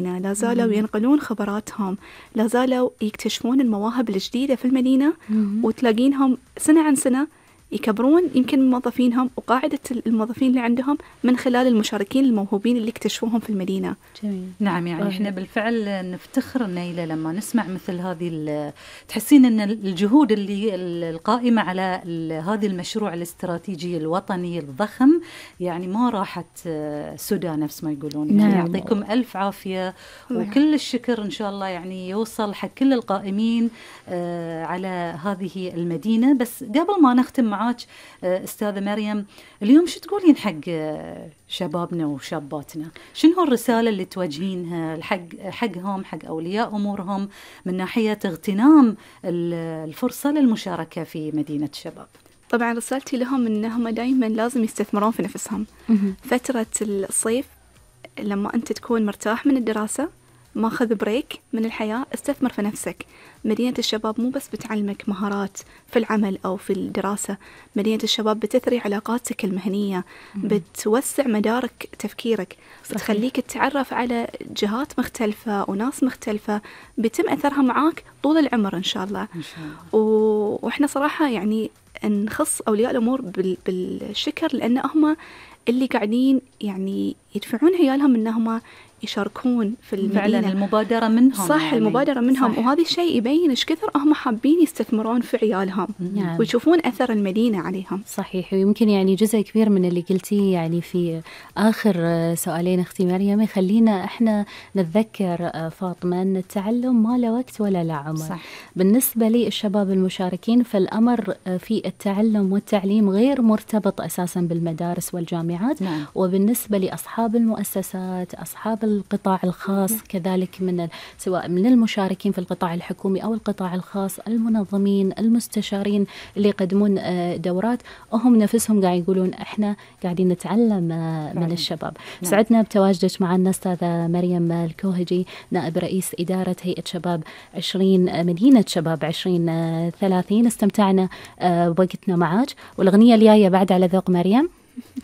لا زالوا ينقلون خبراتهم، لا زالوا يكتشفون المواهب الجديدة في المدينة، وتلاقينهم سنة عن سنة يكبرون يمكن موظفينهم وقاعدة الموظفين اللي عندهم من خلال المشاركين الموهوبين اللي اكتشفوهم في المدينة. جميل. نعم، يعني احنا بالفعل نفتخر نيلة لما نسمع مثل هذه، تحسين ان الجهود اللي القائمة على هذا المشروع الاستراتيجي الوطني الضخم يعني ما راحت سدى نفس ما يقولون. يعني يعطيكم ألف عافية وكل الشكر إن شاء الله يعني يوصل حق كل القائمين على هذه المدينة. بس قبل ما نختم معاك أستاذة مريم، اليوم شو تقولين حق شبابنا وشاباتنا؟ شنو الرسالة اللي توجهينها حقهم، حق أولياء أمورهم، من ناحية اغتنام الفرصة للمشاركة في مدينة الشباب؟ طبعا رسالتي لهم إنهم دايما لازم يستثمرون في نفسهم. فترة الصيف لما أنت تكون مرتاح من الدراسة، ماخذ بريك من الحياة، استثمر في نفسك. مدينة الشباب مو بس بتعلمك مهارات في العمل أو في الدراسة، مدينة الشباب بتثري علاقاتك المهنية، بتوسع مدارك تفكيرك، بتخليك تتعرف على جهات مختلفة وناس مختلفة بيتم أثرها معاك طول العمر إن شاء الله. وإحنا صراحة يعني نخص أولياء الأمور بالشكر، لأن هم اللي قاعدين يعني يدفعون عيالهم إنهم يشاركون في المدينة. فعلا المبادرة منهم، صح يعني المبادرة منهم. صح. وهذا الشيء يبين إيش كثر هم حابين يستثمرون في عيالهم ويشوفون أثر المدينة عليهم. صحيح. ويمكن يعني جزء كبير من اللي قلتيه يعني في آخر سؤالين أختي مريم يخلينا إحنا نتذكر فاطمة أن التعلم ما له وقت ولا له عمر. صح. بالنسبة لي الشباب المشاركين فالأمر في التعلم والتعليم غير مرتبط أساسا بالمدارس والجامعات. وبالنسبة لأصحاب المؤسسات، أصحاب القطاع الخاص كذلك، سواء من المشاركين في القطاع الحكومي أو القطاع الخاص، المنظمين، المستشارين اللي يقدمون دورات، هم نفسهم قاعد يقولون إحنا قاعدين نتعلم من الشباب. سعدنا بتواجدك معنا أستاذة مريم الكوهجي، نائب رئيس إدارة هيئة شباب 20 مدينة شباب 2030. استمتعنا بوقتنا معك، والأغنية الجاية بعد على ذوق مريم.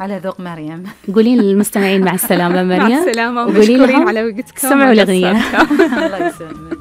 على ذوق مريم. قولين للمستمعين مع السلامة مريم. مع السلامة ومشكورين على وقتكم. سمعوا الأغنية. الله يسلمك.